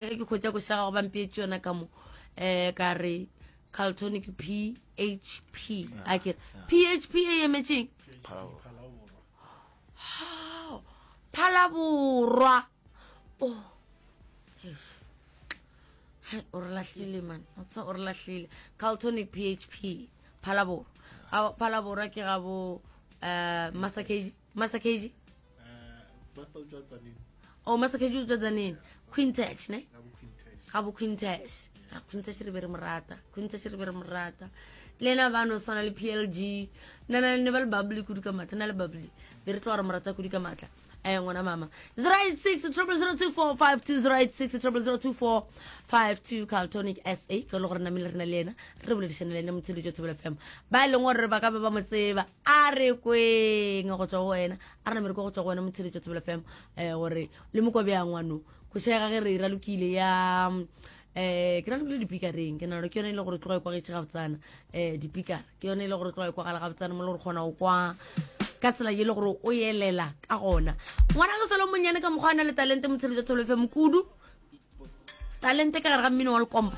Ge ke hwetša koša gago ba mpeetše yona ka mo um ka re Carltonic PHP a ke re PHP e emetšeng Phalaborwa oh eish. Hai, o re lahlile man o tsa o re lahlile Carltonic PHP Phalaborwa Phalaborwa ke ga bo uh, Master KG Master KG o oh, master kg o tswa tsaneng quintash ne ga bo quintash ah, quintash re be re mo rata quintash re be re mo rata le ena ba no tshwana le plg nna na ne ba le bubbly kudu ka maatla na le bubbly be re tlo re mo rata kudu ka maatla eh ngwana mama 086 0002452 086 0002452 Carltonic SA ke le gore namile re na le yena re boledišane le ene motsheletso Thobela FM ba e leng gore ba ka ba ba mo tseba a re kweng go tswa go wena a re namere ko go tswa go wena motsheletso Thobela FM eh gore le mo kwa bjang ngwano košega ge re ralokile ya eh ke ralokile dipikareng ke nalo ke yone e le gore tloga e kwagetše gabotsana eh dipikara ke yone e le gore tloga e kwagala gabotsana mo le gore kgona go kwa ka tsela ye le gore o elela ka gona ngwana ge selo monnyane ka mokgwa a na le talente motsheletso Thobela FM kudu talente ka gare ga mmino wa lekompo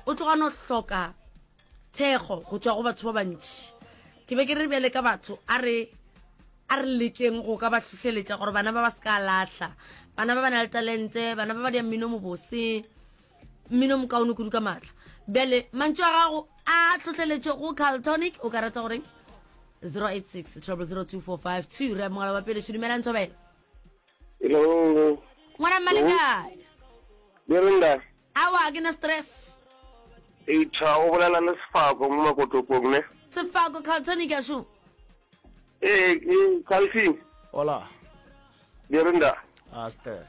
o tloga no hloka thekgo go tšwa go batho ba bantši ke be ke re bjale ka batho a re a re lekeng go ka ba hlohleletša gore bana ba ba se ka lahla bana ba ba na le talente bana ba ba dia mmino mobose mmino mokaone kudu ka maatla bjale mantšu a gago a tlhohleletšo go Carltonic o ka rata goreng 086 0002452 re amogela ba pele dumelang thobela Hello. Ngwana mma le kae? Le re Aowa, ke na stress. Eitha o bolela le Sefako mo Makotopong ne? Sefako, Carltonic a šo. Ee, ke Calvin. Hola. Dirinda. Aster.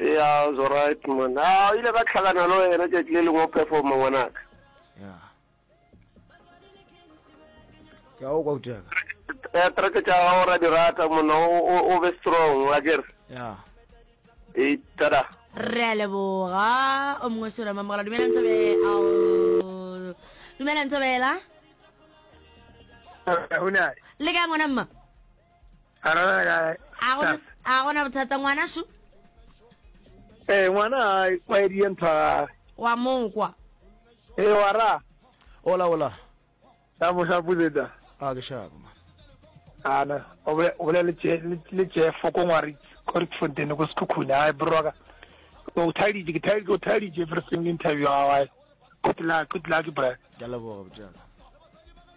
Yeah, it's alright man. Ah, ile ka tlhakana le wena tšatši le lengwe o performa ngwanaka. Yeah. Ke a o kwa uteka. Eh, track tša gago ra di rata monna o be strong wa kere. Yeah. E tada. Re a leboga o mongwe sura mamogela dumela ntshobela ao dumela ntshobela le kae ngwana mma a gona bothata ngwana šo ee ngwana a kwaedie ntho ya gage wa mokwa ee wa ra ola ola Shapo shapo zeta. A ke shapo man. Ana o bolela le Jeff ko ngwari ko Rietfontein ko Sekhukhune. Ai bro ka. O thaeditše ke thaeditše o thaeditše everything interview ya gago. Good luck, good luck bro. Ke a leboga botjaka.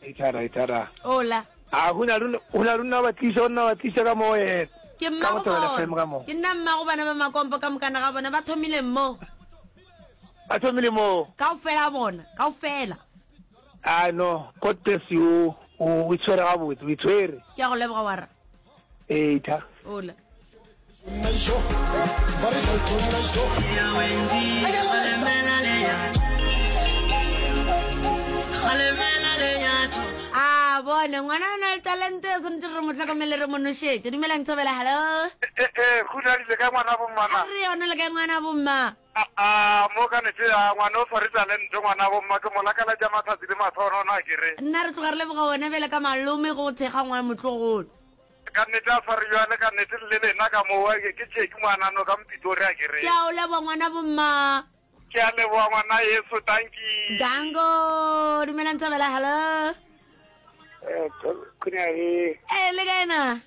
Ithara ithara. Ola. A huna runa huna runa ba tlisha runa ba tlisha ka mo yena. Ke mma go bona. Ke nna mma go bana ba makompo ka mokana ga bona ba thomile mo. Ba thomile mo. Kaofela bona, kaofela. Ah no, God bless you. O o itshwere gabotse, o itshwere. Ke a go leboga wara. Ee, tha. Ola. A bone ngwana o na le talente o tshwanetse re mo tlhokomele re mo nošetše dumelang thobela hello Eh, eh, go le ka ngwana bomma a re yone le ka ngwana bomma Aa, mo ka nete ya ngwana o sware talente ngwana bo mma ke mo lakaletša matsatsi le mahlogonono a ke re. Nna re tloga re leboga wena bjale ka malome go thekga ngwana motlogolo. Ka nnete a sware bjale ka nnete le lena ka mo ke Jackie ngwanano ka Mpitori a ke re. Ke a o leboga ngwana bo mma. Ke a leboga ngwana yeso dankie. Danko, dumelang Thobela hello. Eh, Khunari. Eh, le kae na?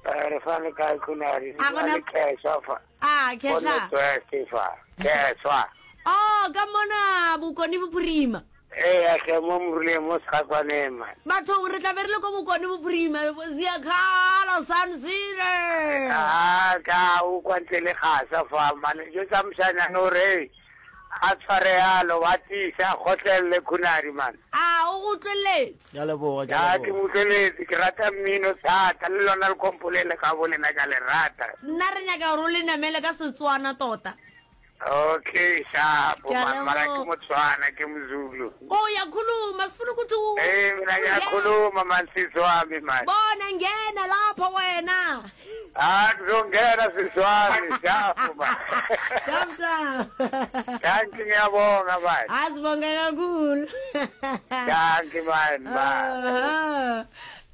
Eh, re fa le kae Khunari? A gona- Le kheswa fa. A, Kheswa. khehla. Fa. Kheswa. Oh, ka mona bokone bophirima. Ee, a hle mo moruleng mo segakwaneng man. Bathong re tla be re le ko bokone bophirima Ziakhala Sun City. Ah, ka o kwa ntle le gasa fa man. Jo tsa moshanyana o re a tshware yalo wa tiisa a kgotlelele Khunari man. A o go utlweletse? Ke a leboga, ke a Ya ke leboga. utlweletse ke rata mmino thata le lona le kompolele ka bo lena ka le rata. Nna re nyaka gore o le namele ka Setswana tota. Okay, sharp Ke a man, mara ke leboga. Motswana ke Mozulu. Oh, uyakhuluma sifuna ukuthi u- Eh mina ngiyakhuluma man sisi wami man. Bona ngena lapho wena. Ah, kuzongena sisi wami, sharp man. Sharp sharp. Thank you ngiyabonga man. Asibonge kakhulu. Thank you man. man. Aha.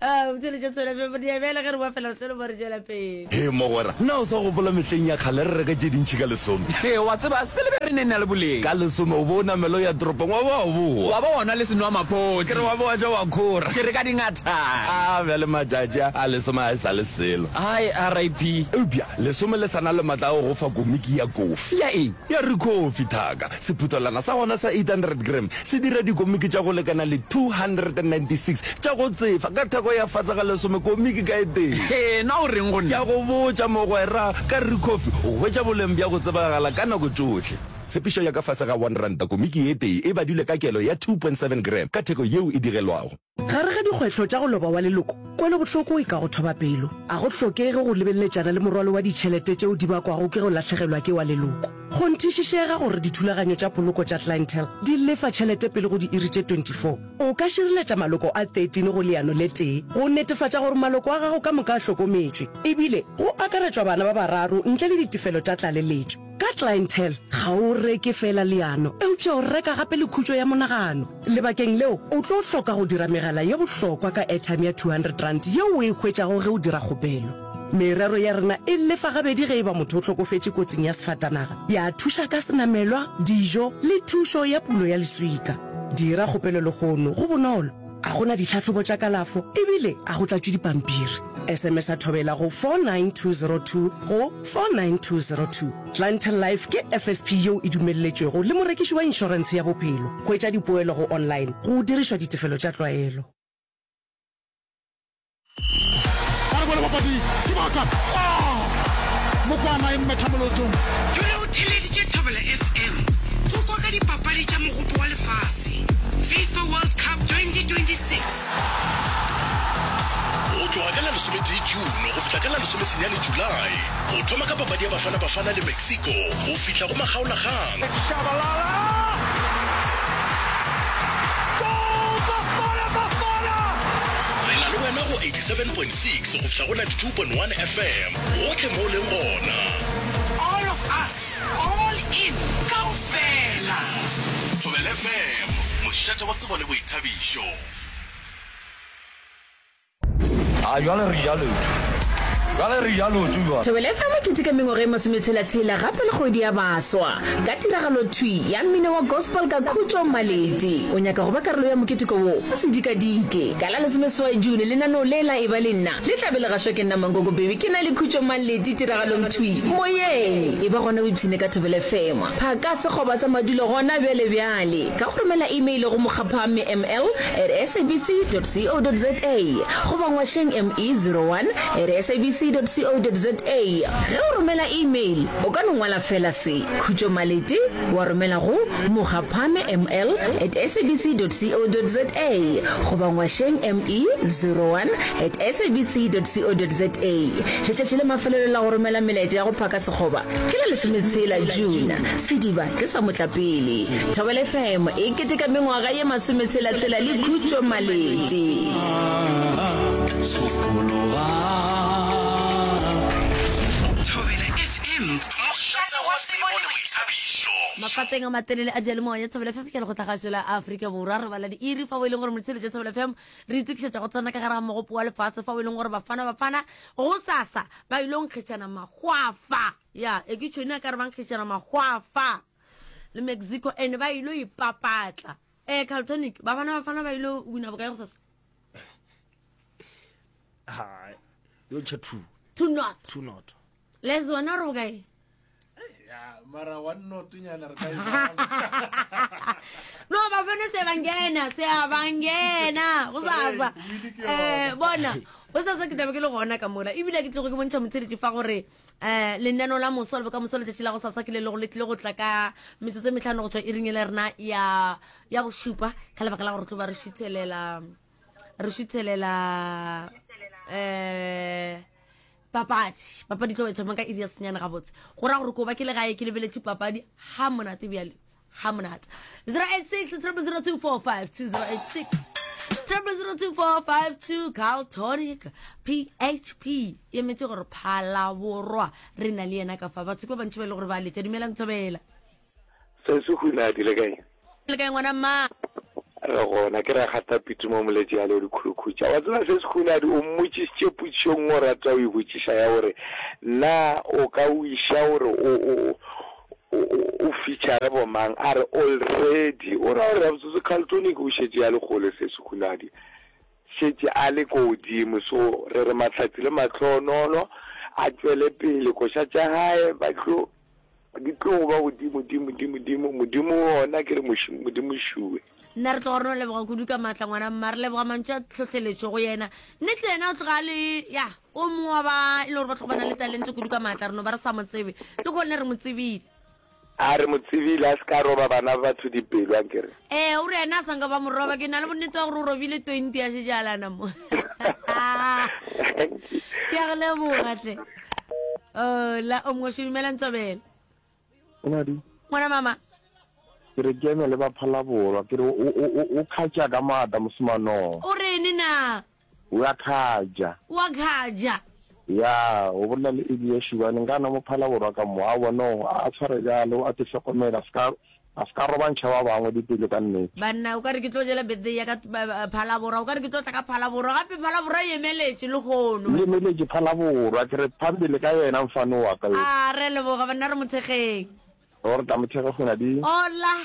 Ah, motšheletše tswela pele diabele ge re boa fela re tlo le bo re tšwela pele. Hee mogwera, na o sa gopola mehleng ya kgale re reka tše dintši ka lesome? Hee, wa tseba, se le be re ne na le boleng. Ka lesome o bo o namela o ya toropong wa ba wa boa. Wa ba wa nwa le senwamaphodi. Ke re wa ba wa ja wa khora. Ke re ka dingathana. A bjale matšatši a, a lesome a e sa le selo. Hai, RIP. Eupša lesome le sa na le matla a go go fa komiki ya kofi. Ya eng? Ya Ricoffy, thaka. Sephuthelwana sa gona sa 800 gram se dira dikomiki tša go lekana le 296 tša go tsefa ka theko ya fase ga lesome komiki ka e tee. Hee, na o reng go Ke nna? a go botša, mogwera, ka Ricoffy o hwetša boleng bja go tsebagala ka nako tšohle. Tshepišo ya ka fase ga R1 komiki e tee e badilwe ka kelo ya 2.7 gram ka theko yeo e digelwago. Gare ga dikgwetlho tša go loba wa leloko, kwelobohloko e ka go thoba pelo. A go hlokege go lebeleletšana le morwalo wa ditšhelete tšeo di bakwago ke go lahlegelwa ke wa leloko. Kgonthišišega gore dithulaganyo tša poloko tša Clientele di lefa tšhelete pele go diiri tše 24. O ka šireletša maloko a 13 go leano le tee go netefatša gore maloko a gago ka moka a hlokometšwe, ebile go akaretšwa bana ba bararo ntle le ditefelo tša tlaleletšo. Ka Clientele, ga o reke feela leano, eupša o reka gape le khutšo ya monagano. Lebakeng leo, o tlo hloka go dira megala ye bohlokwa ka airtime ya R200 yeo o e hwetšago ge o dira kgopelo. Merero ya rena e lefa gabedi ge e ba motho o hlokofetše kotsing ya sefatanaga, ya thuša ka senamelwa, dijo le thušo ya pulo ya leswika. Dira kgopelo lehono, go bonolo, ga go na ditlhahlobo tša kalafo ebile ga go tlatšwe dipampiri. SMS-a Thobela go 49202 go 49202. Clientele Life ke FSP yeo e dumelletšwego le morekiši wa inšorentshe ya bophelo. Hwetša dipoelo go online go dirišwa ditefelo tša tlwaelo. Ba re bone bapadi sebaka. Ah! Mokwana e mmetha molotong. Dula o theeleditše Thobela FM go kwa ka dipapadi tša Mogopo wa Lefase, FIFA World Cup 2026. Go tloga ka la lesometee June go fihla ka la lesomesenyane July, go thoma ka papadi ya Bafana Bafana le Mexico go fihla go makgaolakgang. Shabalala! Goal! Bafana Bafana! Re na le wena go 87.6 go fihla go 92.1 FM, gohle mo o leng gona. All of us, all in, kaofela. Thobela FM, mošate wa tsebo le boithabišo. A jwale re ja leoto. Jwale re ja leoto jwale. Thobela FM e keteka mengwaga e masometshela-tshela gape le kgwedi ya baswa ka tiragalo thwi ya mmino wa gospel ka Khutšo Maleti. O nyaka go ba karolo ya moketeko wo? O se dikadike. Ka la lesomeseswai June lenaneo le la Eba le Nna le tla be le gašwa ke nna Mankoko Baby ke na le Khutšo Maleti tiragalong thwi moyeng. Eba gona o ipshine ka Thobela FM. Phaka sekgoba sa madulo gona bjale bjale ka go romela email go mokgaphame ml at sabc dot co dot za goba ngwašeng me 01 at sabc dot co dot za. Ge o romela email o ka no ngwala feela se, Khutšo Malete, wa romela go mokgaphame ml at sabc dot co dot za goba ngwašeng me 01 at sabc dot co dot za. Letšatši la mafelelo la go romela melaetša ya go phaka sekgoba Ke la lesometshela June, sediba ke sa motlapele. Thobela FM e keteka mengwaga ye masometshela-tshela le Khutšo Malete. Thobela FM, mošate wa tsebo le boithabišo. Mafateng a matelele a diyalemoya Thobela FM ke lekgotlagašo la Afrika Borwa. Re bala diiri fao e leng gore motheeletši wa Thobela FM re itokišetša go tsena ka gare ga mogopo wa lefase fao e leng gore Bafana Bafana gosasa ba ile go nkgetšana mahwafa ya e ke tšhone a ka re ba nkgetšana mahwafa le mexico and ba ile ipapatla eh carltonic ba bana bafana ba ile wina bokae go sasa Hai, yo ntšha two two not two not les wena re bokae Ya, mara one not nyana re ka e bala. no bafana se bangena se a bangena go sasa eh bona go sasa ke tlabe ke le gona ka mola ebile ke tlogo ke bontšha motsheletši fa gore um lenano la moso le bokamoso letšatši la go sasa ke le lego le tlile go tla ka metsotso e metlhano go tšwa iring e le rena ya ya bošupa ka lebaka la gore tlo ba re šuthelela re šuthelela um Papadi. Papadi tlo e thoma ka iri ya senyane gabotse. Go ra gore ko ba ke le gae ke lebeletše papadi ha monate bjale. Ha monate. 086 0002452 086 0002452 Carl Tonic PHP e emetse gore Phalaborwa re na le yena ka fa batho ke ba bantši ba e le gore ba letša dumelang thobela Se se hunadi le kae? Le kae ngwana mma? Re gona, ke Rakgata Pitu mo Moletši ya Leo Dikhulukhutša. Wa tseba se Sekhunadi o mmotšišitše potšišo nngwe o rata o e botšiša ya gore na o ka wiša gore o o o o feature bomang a re already o ra gore gabotsotse Carltonic o šetše a le kgole se Sekhunadi šetše a le ko godimo so re re mahlatsi le mahlohonono a tšwele pele koša tša gae ba tlo Di tlo go ba godimo, dimo, dimo, dimo, Modimo wona ke re Modimo šue. Nna re tloga re no leboga kudu ka maatla ngwana mma, re leboga mantšu a tlhohleletšo go yena. Nnete yena o tloga a le, ya, o mongwe wa ba e le gore ba tloga ba na le talente kudu ka maatla, re no ba re sa mo tsebe. Le gone re mo tsebile. A re mo tsebile, a se ka roba bana ba batho dipelo, ankere. Ee, o re yena a sa nka ba mo roba, ke na le bonnete wa gore o robile 20 ya šetše a lana mo. Ke a go leboga hle. Ola, o mongwe dumela Ntsobela. Ngwadi. Ngwana mama. Ke re ke eme le ba Phalaborwa, ke re o o o o khatša ka maatla mosemanong. O rene na? O a khatša. O a khatša. Ya, o bolela le Elia Shubane, nka na mo Phalaborwa ka mo, aowa no, a tshware bjalo, a te hlokomela, a ska A se ka robantšha ba bangwe dipelo ka nnete. Banna, o ka re ke tlo jela birthday ya ka Phalaborwa, o ka re ke tlo tla ka Phalaborwa, gape Phalaborwa e emeletše lehono. E emeletše Phalaborwa, ke re phambele ka yena mfano wa ka yo. A re a leboga banna, re mo thekgeng. O re tla mo thekga kgona di. Hola.